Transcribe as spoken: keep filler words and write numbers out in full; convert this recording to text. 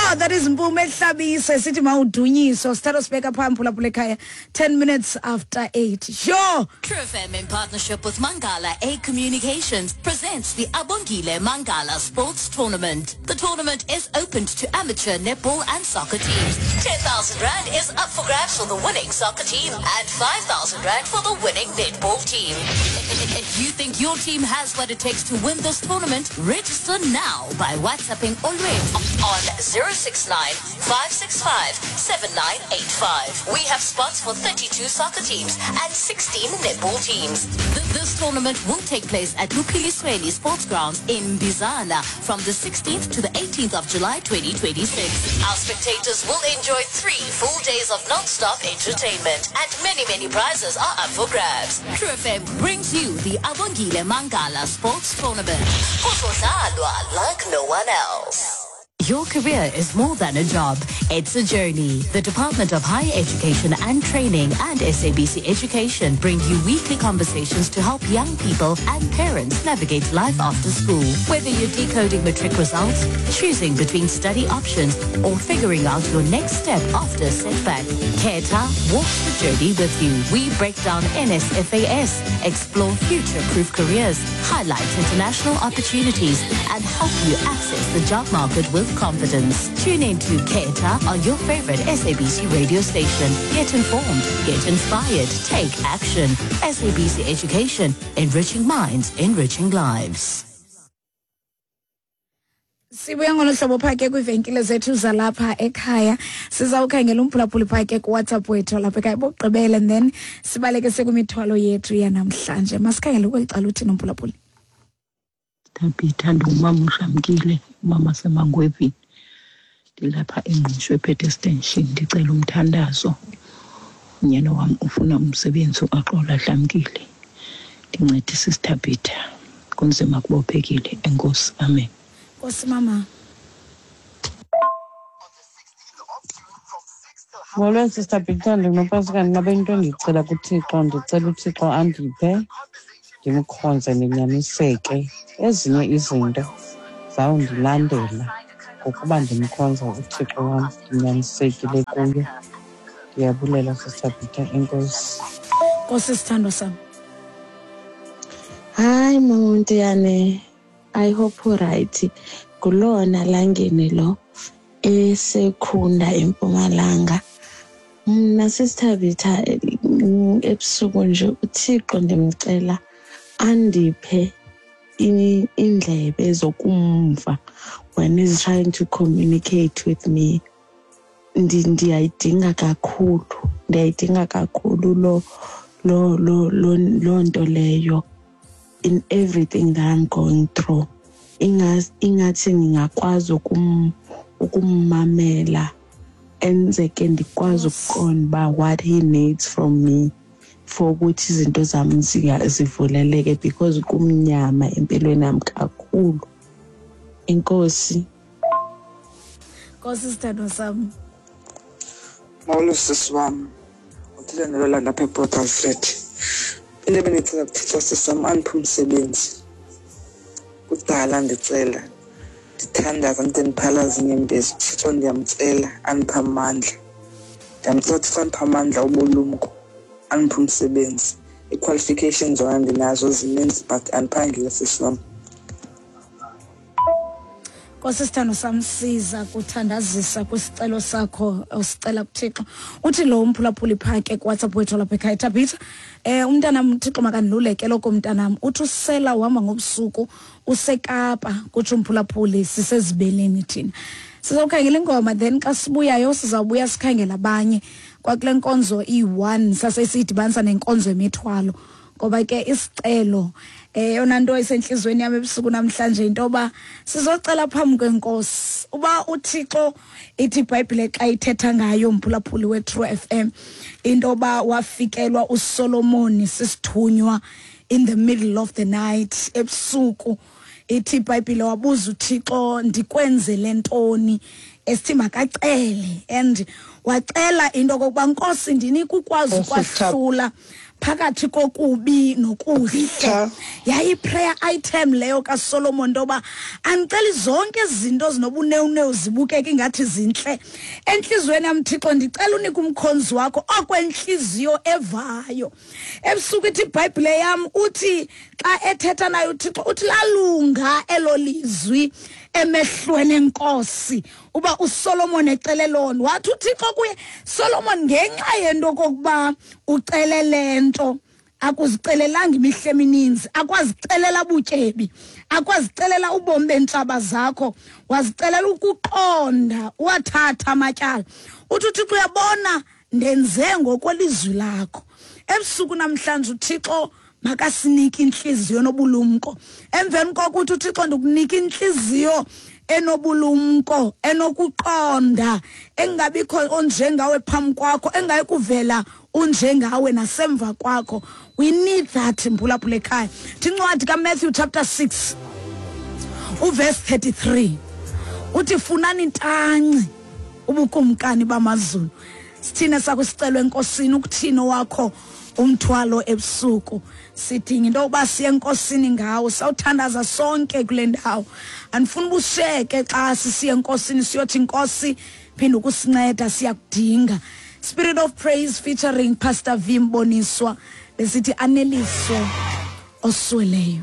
Sure, that is Mpume Hlabisa sithi mawudunyiswa sithatha sibeka phambi phulaphula ekhaya ten minutes after eight. Sure. True F M in partnership with Mangala A Communications presents the Abongile Mangala Sports Tournament. The tournament is open to amateur netball and soccer teams. ten thousand rand is up for grabs for the winning soccer team and five thousand rand for the winning netball team. If you think your team has what it takes to win this tournament, register now by WhatsApping Olwethu on zero six nine, five six five, seven nine eight five. We have spots for thirty-two soccer teams and sixteen netball teams. This tournament will take place at Luphilisweni Sports Grounds in Bizana from the sixteenth to the eighteenth of July twenty twenty-six. Our spectators will enjoy three full days of non-stop entertainment and many, many prizes are up for grabs. True F M brings you the Abongile Mangala Sports Tournament. Kuzodlalwa like no one else. Your career is more than a job. It's a journey. The Department of Higher Education and Training and S A B C Education bring you weekly conversations to help young people and parents navigate life after school. Whether you're decoding matric results, choosing between study options, or figuring out your next step after a setback, Keta walks the journey with you. We break down N S F A S, explore future-proof careers, highlight international opportunities, and help you access the job market with confidence. Tune in to Keta on your favorite S A B C radio station. Get informed, get inspired, take action. S A B C Education, enriching minds, enriching lives. Sibuya ngolo hlobo phake kwivenkile zethu zalapha ekhaya. Sizawukhangela umphulaphuli phake ku WhatsApp wethu lapha ekhaya bokugqibela and then sibaleke sekumithwalo yethu yanamhlanje. Masikhangele kweli cala uthini umphulaphuli. Tabitha ndumama uShamkile, umama seMangwevini. Ndilapha eNgqushwa ephethe extension, ndicela umthandazo. Unyana wam ufuna umsebenzi uAxola Dlamkile. Ndincedise Tabitha. Kunzima kubophekile. Enkosi. Amen. Nkosi mama. Molweni Sister Peter, ndinopasika ndingabe into endicela kuThixo, ndicela uThixo andiphe ndimkhonze ndinyaniseke. Ezinye izinto zawundilandela ngokuba ndimkhonza uThixo wam ndinyanisekile kuye. Ndiyabulela Sister Peter, enkosi. Nkosi sithandwa sam. Hayi mama Mthiyane, I hope uright. Kulona langene lo esekhunda eMpumalanga. Mna Sister Peter ebusuku nje uThixo ndimcela andiphe indlebe zokumva when he's trying to communicate with me. Ndiyayidinga kakhulu, ndiyayidinga kakhulu lo lo lo lo nto leyo in everything that I'm going through. Ingathi ngingakwazi ukum ukummamela enzeke ndikwazi ukuqonda uba what he needs from me for ukuthi izinto zami zivuleleke because kumnyama empilweni yami kakhulu. Inkosi. Nkosi sithandwa sami. Molo sisi wami, uthile nolanda apha ePort Alfred. Into ebendicela kuThixo sisi wam andiphe umsebenzi. Kudala ndicela, ndithandaza ndide ndiphalaze inyembezi. UThixo ndiyamcela andiphe amandla. Ndiyamcela uThixo andiphe amandla obulumko, andiphe umsebenzi. Ii-qualifications zona ndinazo zininzi but andiphangeli sisi wam. Nkosi sithando sam, siza kuthandazisa kwisicelo sakho osicela kuThixo. Uthi lo umphulaphuli phake kuWhatsApp wethu lapha ekhaya, Tabitha, eh umntanam uThixo makandiluleke lokho mntanam. Uthi usela uhamba ngobusuku useKapa, kutsho umphulaphuli, sisezibeleni thina. Sizawukhangela ingoma then xa sibuyayo sizawubuya sikhangela abanye kwakule nkonzo iyi-one sasesiyidibanisa nenkonzo yemithwalo. Ngoba ke isicelo eyona nto esenhlizweni yami ebusuku namhlanje into yoba sizocela phambi kwenkosi uba uThixo ithi iBhayibhile xa ithetha ngayo umphulaphuli we-True F M into yoba wafikelwa uSolomon sisithunywa in the middle of the night ebusuku. Ithi iBhayibhile wabuza uThixo ndikwenzele ntoni, esithi makacele, and wacela into kokuba Nkosi ndinika ukwazi ukwahlula phakathi kokubi nokuhle. Yayi prayer item leyo kaSolomon ntoba andicela zonke izinto zinobunewunewu zibukeke ingathi zintle enhliziyweni yam Thixo, ndicela unike umkhonzi wakho okwenhliziyo evayo. Ebusuku ithi iBhayibhile yam uthi xa ethetha naye uThixo uthi lalunga elo lizwi emehlweni enkosi uba uSolomon ecele lona. Wathi uThixo kuye, Solomon, ngenxa yento kokuba ucele lento akuzicelelanga imihla emininzi, akwazicelela butyebi, akwazicelela ubomi bentshaba zakho, wazicelela ukuqonda, wathatha amatyala. Uthi uThixo uyabona ndenze ngokwelizwi lakho. Ebusuku namhlanje uThixo makasinike inhliziyo nobulumko. Emveni kokuthi uThixo ndikunika inhliziyo enobulumko, enokuqonda, engabikho onjengawe phambi kwakho, engayikuvela unjengawe nasemva kwakho. We need that mphulaphula ekhaya. Thincwadi kaMatthew chapter six uverse thirty-three uthi funani intanci ubukumkani bamazulu. Sithine sakusicelo enkosini ukuthini wakho umthwalo ebusuku. Sidinga into yokuba siye enkosini ngawo, sawuthandaza sonke kule ndawo. Andifuni ubusheke xa sisiye enkosini siyothi inkosi phinde ukusinceda, siyakudinga. Spirit of Praise featuring Pastor V Mboniswa besithi aneliswe osweleyo.